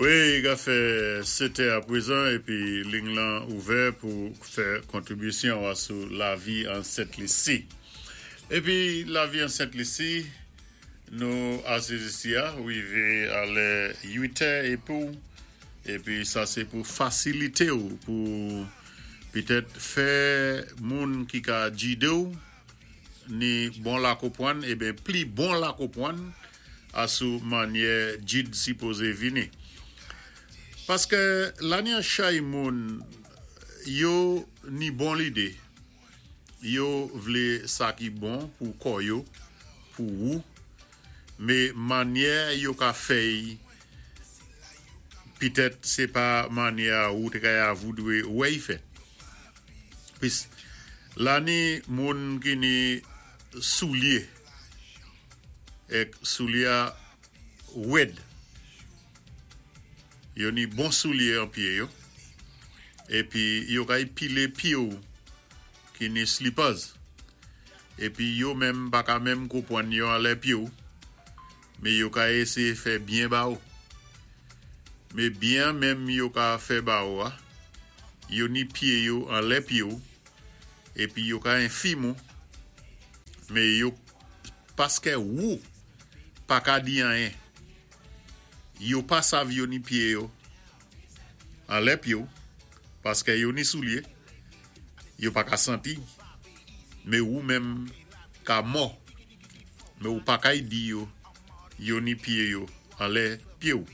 Wi, ka fè 7 è apwézan épi ling lan ouvè pou fè kontribisyon a sou Lavi an Sent Lisi. Épi Lavi an Sent Lisi, nou asiz isi a wivé a lè 8 è épi épi sa sé pou fasilité ou pou pitèt fè moun ki ka jidé ou ni bon lakonpwann, eben pli bon lakonpwann asou mannyè jid sipozé vini. Paskè la ni an chay moun yo ni bon lidé, yo vlé sa ki bon pou kò yo, pou wou, mé mannyè yo ka fè-y pitèt sé pa mannyè a wou té ka voudwé wè-y fèt. Pis la ni moun ki ni soulyé èk soulye a wèd. Yo ni bon soulye an pyé yo épi yo kay pilé pyé-w ki ni slippers épi yo menm pa ka menm konpwann yo anlè pyé-w, mé yo ka éséyé fè byen ba ou. Mé byen an menm yo ka fè ba ou a, yo ni pyé yo anlè pyé-w épi yo ka enfim ou, mé yo paskè wou pa ka di anyen. Yo pa sav yo ni pyé yo anlè pyé-w paskè yo ni soulye, yo pa ka santi, mé wou menm ka mò, mé ou pa kay di yo yo ni pyé yo anlè pyé-w.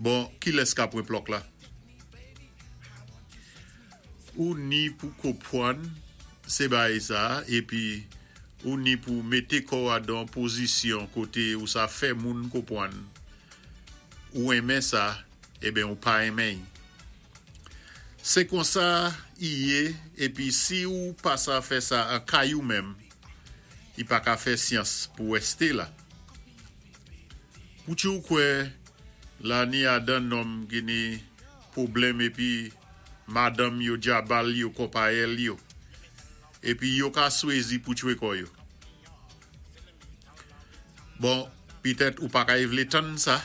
Bon, kilès ka pwan plòk la? Ou ni pou konpwann sé bagay sa épi ou ni pou mété kò-w adan pozisyon koté ou sa fè moun konpwann ou enmen sa eben ou pa enmen-y. Sé konsa i yé épi si ou pa sa fè sa an kay ou menm, i pa ka fè syans pou wèsté la. Poutchi ou kwè la ni adan nonm ki ni pwoblèm épi madanm yo djabal yo konpayèl yo épi yo ka swézi pou tchwé kò yo. Bon, pitèt ou pa kay vlé tann sa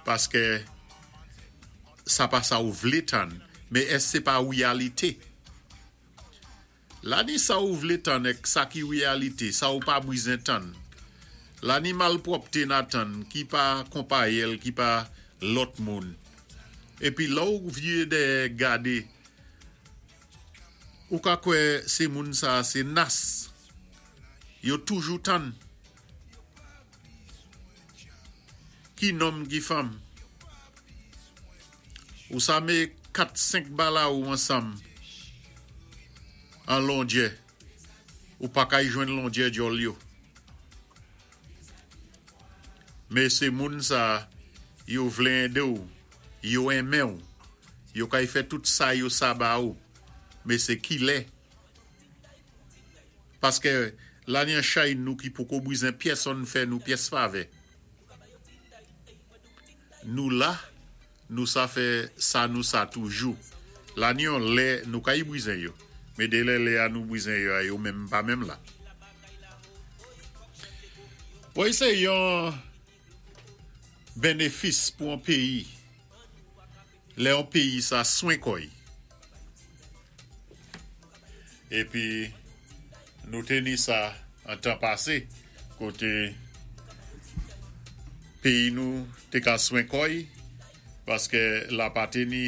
paskè sa pa sa ou vlé tann, mé èske sé pa wiyalité? La ni sa ou vlé tann èk sa ki wiyalité, sa ou pa bwizen tann. La ni malpwòpté na tann ki pa konpayèl ki pa lòt moun. Épi lè ou vye dèyè gadé, ou ka kwè sé moun sa sé nas yo toujou tann. Ki nonm ki fanm? Ou sa mé 4 5 balaou ansanm an londjè ou pa kay jwenn londjè djòl yo. Mé sé moun sa yo vlé édé-w, yo enmen-w, yo kay fè tout sa yo sa ba ou, mé sé kilè? Paskè la ni an chay nou ki poko bwizen pyèsonn fè nou pyès favè. Nou la, nou sa fè sa nou sa toujou. La ni yon lè nou kay bwizen yo, mé dé lè lè a nou bwizen yo a yo menm pa menm la. Woy sé yon benefis pou yon péyi lè yon péyi sa swen kò-y. Épi nou té ni sa an tan pasé koté péyi nou té ka swen kò-y paskè la pa té ni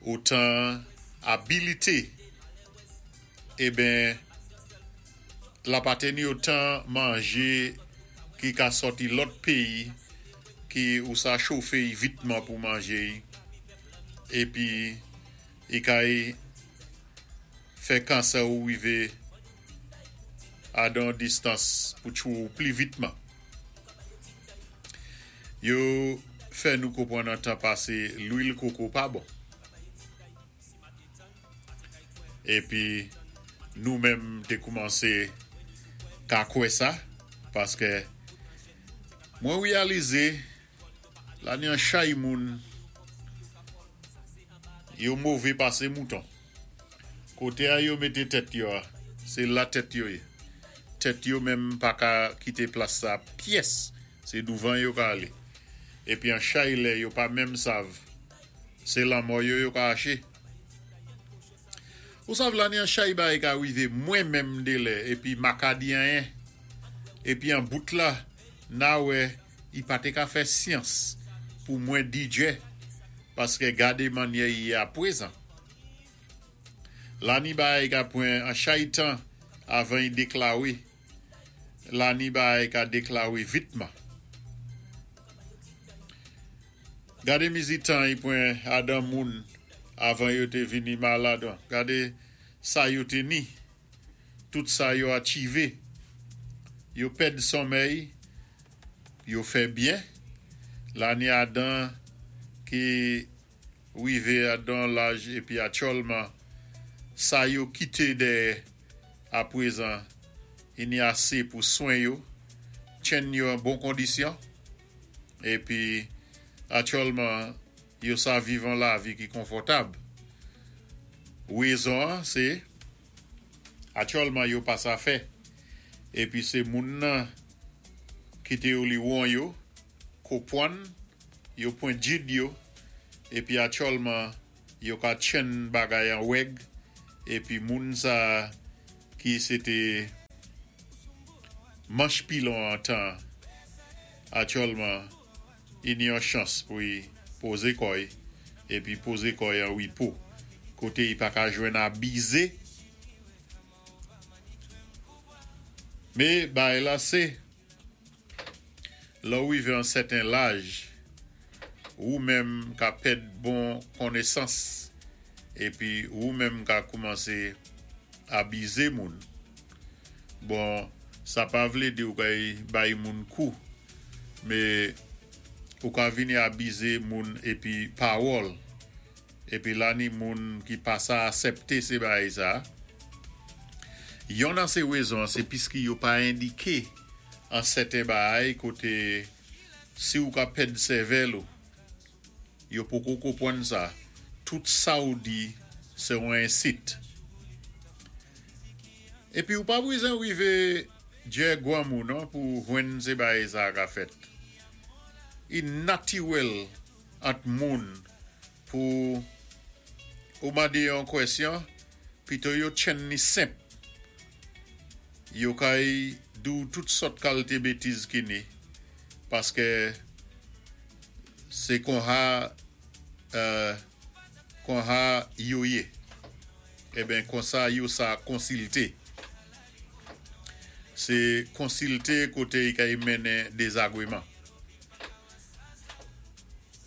otan abilité eben la pa té ni otan manjé ki ka sòti lòt péyi ki ou sa chofé-y vitman pou manjé-y épi i kay fè kansè ou wivé adan distans pou tchwé-w pli vitman. Yo fè nou konpwann an tan pasé lwil koko pa bon. Épi nou menm té koumansé ka kwè sa paskè mwen wiyalizé la ni an chay moun yo mové pasé mouton. Koté a yo mété tèt yo a, sé la tèt yo yé. Tèt yo menm pa ka kité plas sa pyès, sé douvan yo ka alé. Épi an chay lè yo pa menm sav sé lanmò yo yo ka aché. Ou sav la ni an chay bagay ka wivé mwen menm dé lè épi ma ka di anyen. Épi an bout la na wè i pa té ka fè syans pou mwen di djè paskè gadé mannyè i yé apwézan. La ni bagay ka pwan an chay tan avan i déklawé. La ni bagay ka déklawé vitman. Gadé mizi tan i pwan adan moun avan yo té vini malad. Gadé sa yo té ni, tout sa yo achivé. Yo pèd sonmèy, yo fè byen. La ni adan ki wivé adan laj épi aktyèlman sa yo kité dèyè apwézan i ni asé pou swen yo, tchenn yo an bon kondisyon épi aktyèlman yo sa viv an lavi ki konfòtab. Wézon an sé aktyèlman yo pa sa fè épi sé moun nan ki té oliwon yo kopwann yo pwan djid yo épi aktyèlman yo ka tchenn bagay an wèg épi moun sa ki sé té manch pilon an tan aktyèlman i ni yon chans pou i pozé kò'y épi pozé kò'y an wipo koté i pa ka jwenn abizé. Mé bagay la sé Lè ou wivé an sèten laj, wou menm ka pèd bon konnesans épi wou menm ka koumansé abizé moun. Bon, sa pa vlé di ou kay bay moun kou, mé ou ka vini abizé moun épi pawòl. Épi la ni moun ki pa sa asèpté sé bagay sa. Yonn an sé wézon an sé piski yo pa endiké an sèten bagay koté si ou ka pèd sèvèl ou, yo poko konpwann sa, tout sa ou di sé yon ensit. Épi ou pa bwizen wivé djè gwanmou non pou jwenn sé bagay sa ka fèt. I natiwèl ant moun pou ou mandé yon kwèsyon pito yo tchenn ni senp yo kay di-w tout sòt kalté bétiz ki ni paskè sé konha konha yo yé eben konsa yo sa konsilté sé konsilté koté y kay mennen dezagweman.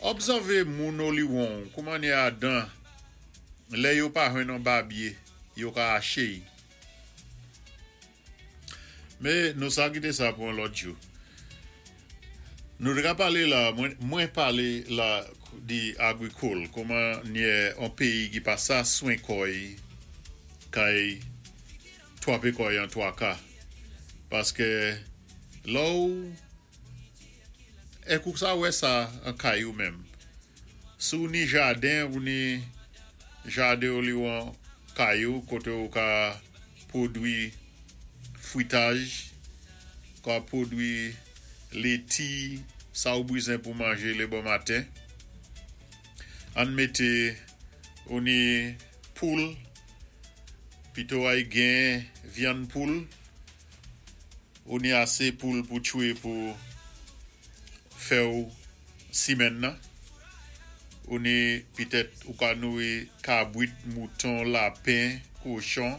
Obsèvé moun oliwon-w kouman ni adan lè yo pa jwenn on babye yo ka aché-y. Mé nou sa kité sa pou on lòt jou. Nou té ka palé la, mwen palé la di agrikòl, kouman nyè on péyi ki pa sa swen kò'y kay twapé kò'y an twaka. Paskè lè-w Èk ou sa wè sa an kay ou menm. Si w ni jaden ou ni jaden oliwon kay ou koté ou ka pwodwi fwitaj, ka pwodwi léti, sa ou bwizen pou manjé lé bon maten. Ann mété ou ni poul, pito ay gen vyann poul. Ou ni asé poul pou tchwé pou fè-w simèn nan. Ou ni pitèt ou ka nouri kabwit, mouton, lapen, kochon.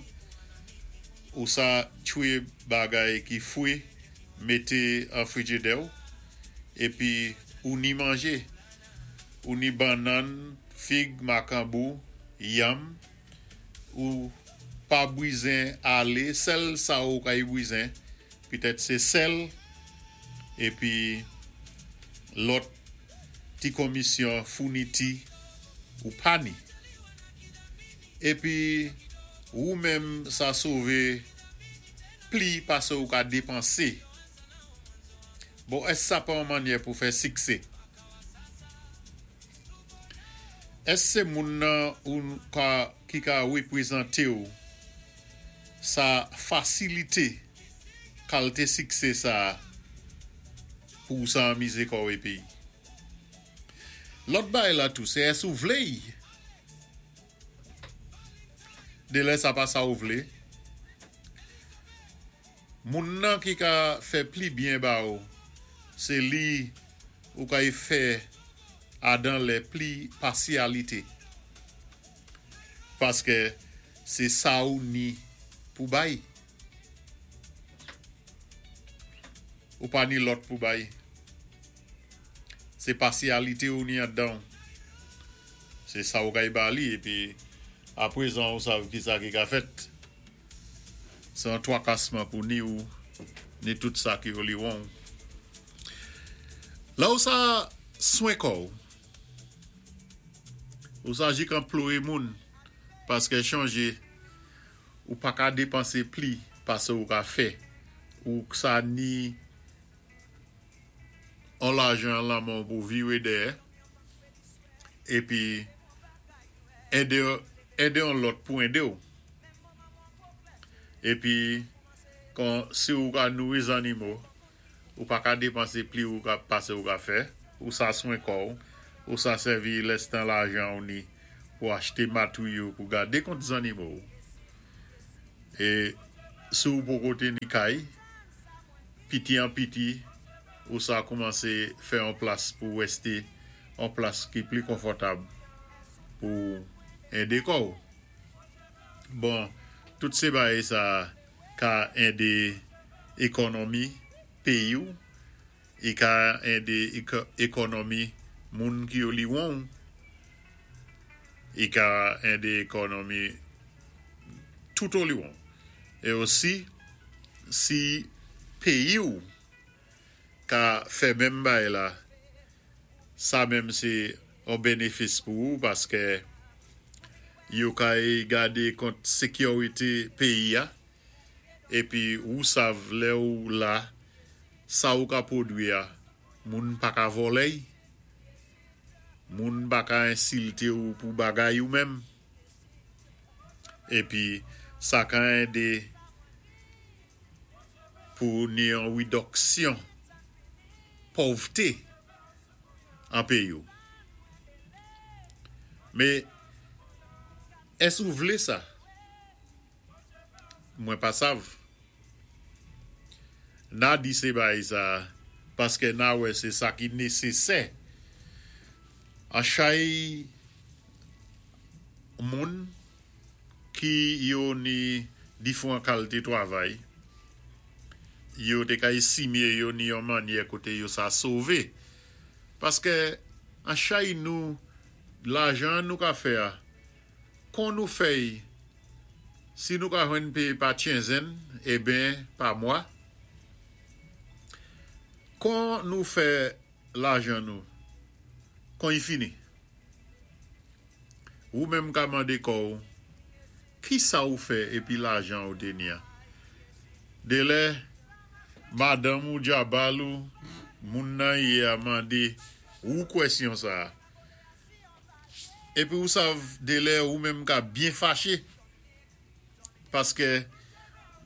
Ou sa tchwé bagay ki fwé mété an frijidè-w. Épi ou ni manjé. Ou ni bannann, fig, makanbou, yanm. Ou pa bwizen alé sèl sa ou kay bwizen pitèt sé sèl épi lòt ti konmisyon founiti ou pa ni. Épi wou menm sa sové pli pasé ou ka dépansé. Bon èske sa pa yon mannyè pou fè siksé? Èske se moun nan ou ka ki ka reprezante w sa fasilite kalte siksé sa a pou w sa anmize kò w epi. Lòt bagay la tou, sé ès ou vlé'y? Délè sa pa sa ou vlé. Moun nan ki ka fè pli byen ba ou, sé li ou kay fè adan lè pli pasyalité. Paskè sé sa ou ni pou bay. Ou pa ni lòt pou bay. Se pasyalite ou ni andan w. Se sa ou kay ba li epi aprezan ou sav kisa ki ka fèt. Se yon twakasman pou ni ou ni tout sa ki oliwon w. Lè ou sa swen kò w, ou sa jik anploye moun paske chanje ou pa ka depanse pli pase ou ka fè. Ou sa ni on lajan lan men w pou viré dèyè épi édé édé on lòt pou édé w. Épi kon si ou ka nouri zannimo, ou pa ka dépansé pli ou ka pasé ou ka fè, ou sa swen kò w, ou sa sèvi lèstan lajan ou ni pou achté matéryo pou gadé kont zannimo w. É si ou poko té ni kay, piti an piti ou sa koumansé fè on plas pou wèsté, on plas ki pli konfòtab pou édé kò w. Bon, tout sé bagay sa ka édé ékònòmi péyi w, i ka édé ékònòmi moun ki oliwon w, i ka édé ékònòmi tout oliwon w. É osi, si péyi w ka fè menm bagay la, sa menm sé on bénéfis pou ou paskè yo kay gadé kont sékyorité péyi a épi ou sav lè ou la sa ou ka pwodwi a moun pa ka vòlè'y, moun pa ka ensilté ou pou bagay ou menm épi sa ka édé pou ni on widoksyon pòvté an péyi ou. Mé ès ou vlé sa? Mwen pa sav. Na di sé bagay sa paskè na wè sé sa ki nésésè. An chay moun ki yo ni difwan kalté twavay, yo té ka èstimé yo ni yon mannyè koté yo sa sové. Paskè an chay nou lajan nou ka fè a, kon nou fè'y, si nou ka jwenn péyé pa tchenzenn, eben pa mwa, kon nou fè lajan nou, kon y fini. Wou menm ka mandé kò ou, kisa ou fè épi lajan ou té ni a? Délè madanm ou djabal ou, moun nan yé a mandé wou kwèsyon sa a. Épi ou sav délè ou menm ka byen faché paskè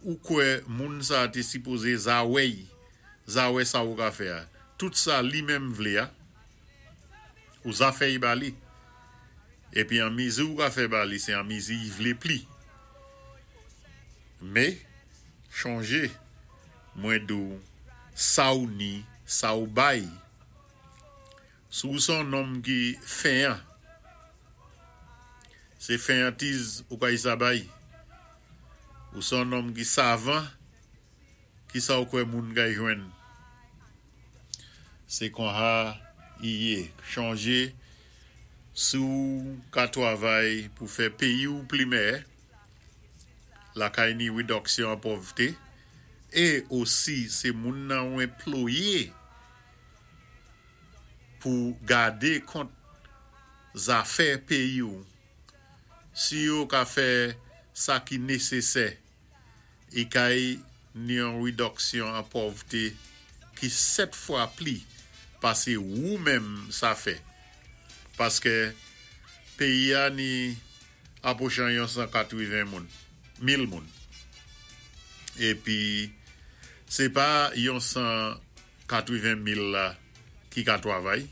ou kwè moun sa a té sipozé za wè'y, za wè sa ou ka fè a. Tout sa li menm vlé a, ou za fè'y ba li. Épi an mizi ou ka fè ba li, sé an mizi y vlé pli. Mé, chonjé, mwen di-w, sa ou ni, sa ou bay. Si ou sé on nonm ki fenyan, sé fenyantiz ou kay sa bay. Ou sé on nonm ki savan, kisa ou kwè moun kay jwenn? Sé konha i yé. Chonjé, si ou ka twavay pou fè péyi ou pli mèyè, lakay ni widoksyon an pòvté, é osi sé moun nan ou enployé pou gadé kont zafè péyi ou, si yo ka fè sa ki nésésè, i kay ni yon widoksyon an pòvté ki 7 fwa pli pasé wou menm sa fè. Paskè péyi a ni apwochan yon 180 moun, mil moun. Épi sé pa yon 180 mil la ki ka twavay.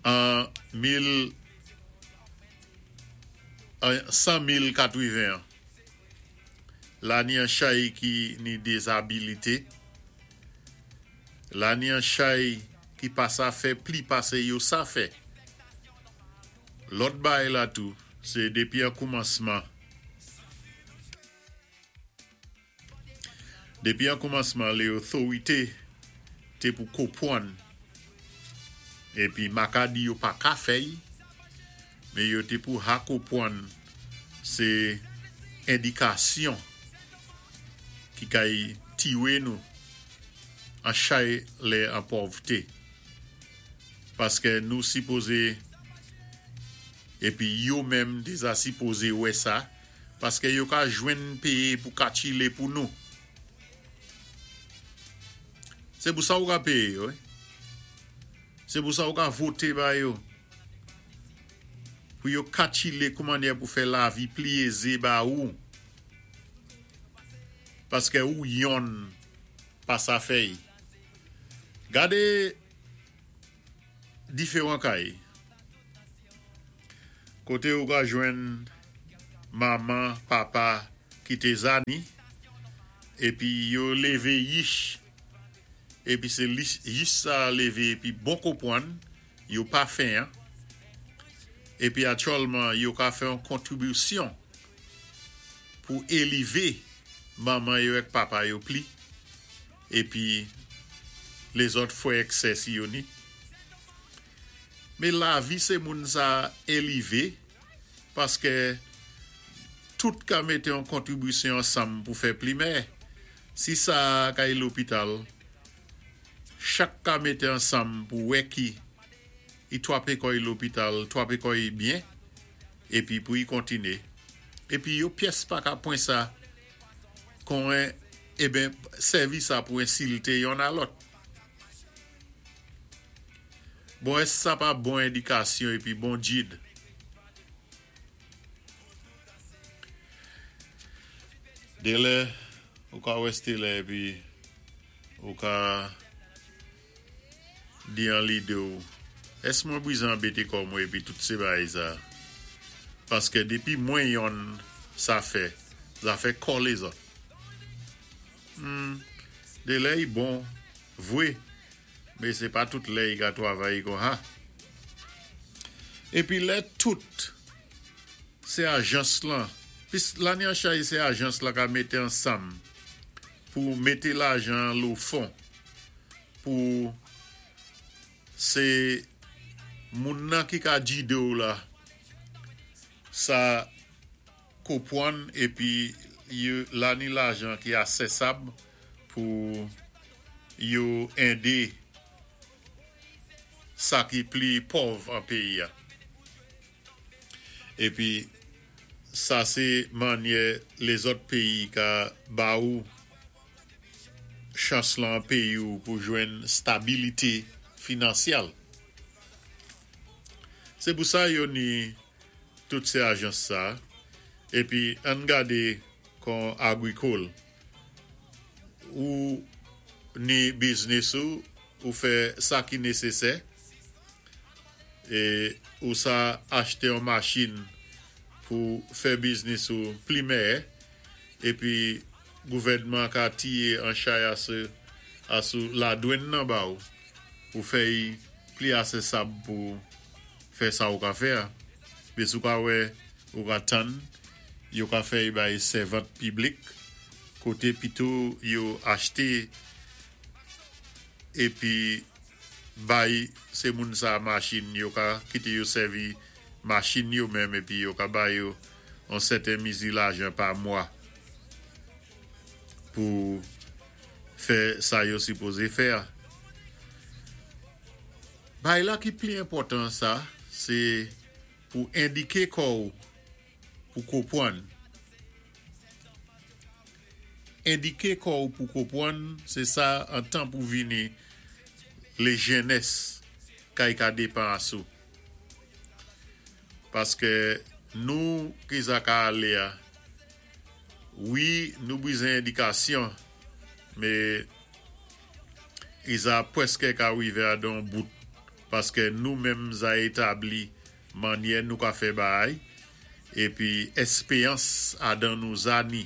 An mil an 100 000 katwiven an, la ni an chay ki ni dezabilité, la ni an chay ki pa sa fè pli pasé yo sa fè. Lòt bagay la tou, sé dépi an koumansman, dépi an koumansman lé otorité té pou konpwann épi ma ka di yo pa ka fè-y, mé yo té pou ha konpwann sé endikasyon ki kay tiwé nou an chay lè an pòvté. Paskè nou sipozé épi yo menm déza sipozé wè sa, paskè yo ka jwenn péyé pou katchilé pou nou. Sé pou sa ou ka péyé yo wi. Sé pou sa ou ka voté ba yo. Pou yo katchilé koumannyè pou fè lavi pli ézé ba ou. Paskè ou yonn pa sa fè-y. Gadé diferan kay koté ou ka jwenn manman, papa ki té zani épi yo lévé yich épi sé yich sa lévé épi bon konpwann yo pa fenyan épi aktyèlman yo ka fè yon kontribisyon pou élivé manman yo ak papa yo pli. Épi lézòt fwè ak sè si yo ni. Mé lavi sé moun sa élivé paskè tout ka mété yon kontribisyon ansanm pou fè pli mè. Si sa kay lopital, chak ka mété ansanm pou wè ki i twapé kò'y lopital, twapé kò'y byen épi pou i kontiné. Épi yo pyès pa ka pwan sa kon eben sèvi sa pou ensilte yonn a lòt. Bon èske sa pa bon endikasyon epi bon djid? Delè ou ka wè stelè epi ou ka Di an lide w, Èske mwen brize anbete kò mwen epi tout se bagay sa? Paske depi mwen yonn sa fè, zafè kò lezòt. Humm, de lè y bon vwe, men se pa tout lè y ka twavay kon ha. Epi lè tout se ajans lan, pis lane an chay se ajans lan ka mete ansanm pou mete lajan an lo fon. Pou se moun nan ki ka jidew la sa kopwann epi la ni lajan ki asesab pou yo ende sa ki pli pòv an peyi a epi sa se manyè lezòt peyi ka ba ou chans lan peyi w pou jwenn stabilite finansyal. Se pou sa yo ni tout se ajans sa. Epi ann gade kon agrikol. Ou ni biznis ou, ou fè sa ki nesesè. E ou sa achte yon machin pou fè biznis ou pli mèyè. Epi gouvèdman ka tiye an chay asou ladwenn nan ba ou pou fè y pli asesab pou fè sa ou ka fè a. Be si ou ka wè ou ka tann yo ka fè y bay sèvant piblik koté pito yo achte epi bay se moun sa machin yo ka kité yo sèvi machin yo menm epi yo ka ba yo yon sèten mizi lajan pa mwa pou fè sa yo sipoze fè a. Bagay la ki pli enpòtan sa se pou endike kò ou pou kopwann. Endike kò ou pou kopwann se sa an tan pou vini le jenès kay ka depan asou. Paskè nou ki sa ka alé a wi nou bizen edikasyon mé iza pwèskè ka rivé a don bout. Paskè nou menm za établi mannyè nou ka fè bagay épi èspéyans adan nou za ni.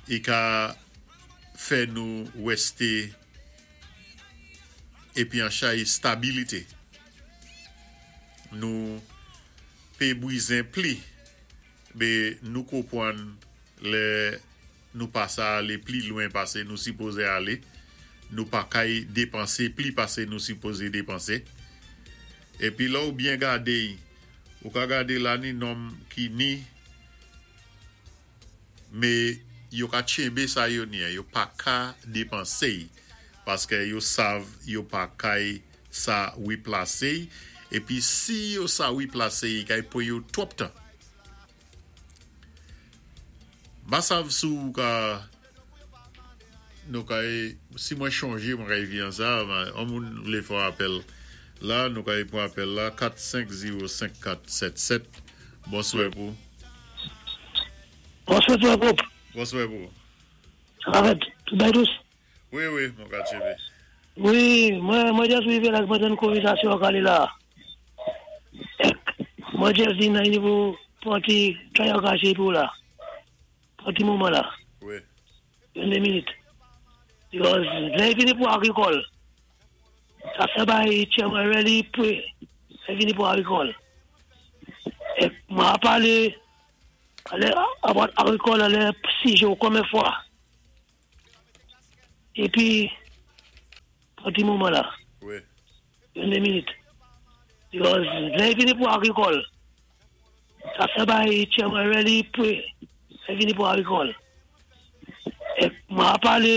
I ka fè nou wèsté épi an chay stabilité. Nou pé bwizen pli bé nou konpwann lè nou pa sa alé pli lwen pasé nou sipozé alé, nou pa kay dépansé pli pasé nou sipozé dépansé. Épi lè ou byen gadé, ou ka gadé la ni nonm ki ni mé yo ka tchenbé sa yo ni, yo pa ka dépansé paskè yo sav yo pa kay sa wiplasé épi si yo sa wiplasé i kay pwan yo twòp tan. M pa sav si ou ka nou kay si mwen chonjé mwen kay vi an sa, an moun vlé fè apèl la, nou kay pwan apèl la 4 5 0 5 4 7 7. Bonswè pou. Bonswè frè Pope. Bonswè pou. Sa va fèt? Tout bagay dous? Wi, mwen ka tchévé. Wi, mwen just rivé la mwen tann konvèsasyon an alé la. Èk, mwen just di nan ni pou pwan ti chay an kaché pou la. Pwan ti moman la. Wi. Yon 2 minit. Because lè vini pou agrikòl, sa fè bay chairman really pou lè vini pou agrikòl. Èk, mwen a palé alè about agrikòl alè sijé ou konbyen fwa. Épi, pwan ti moman la. Wi. Yon 2 minit. Because lè vini pou agrikòl, sa fè bay chairman really pou lè vini pou agrikòl. Èk, mwen a palé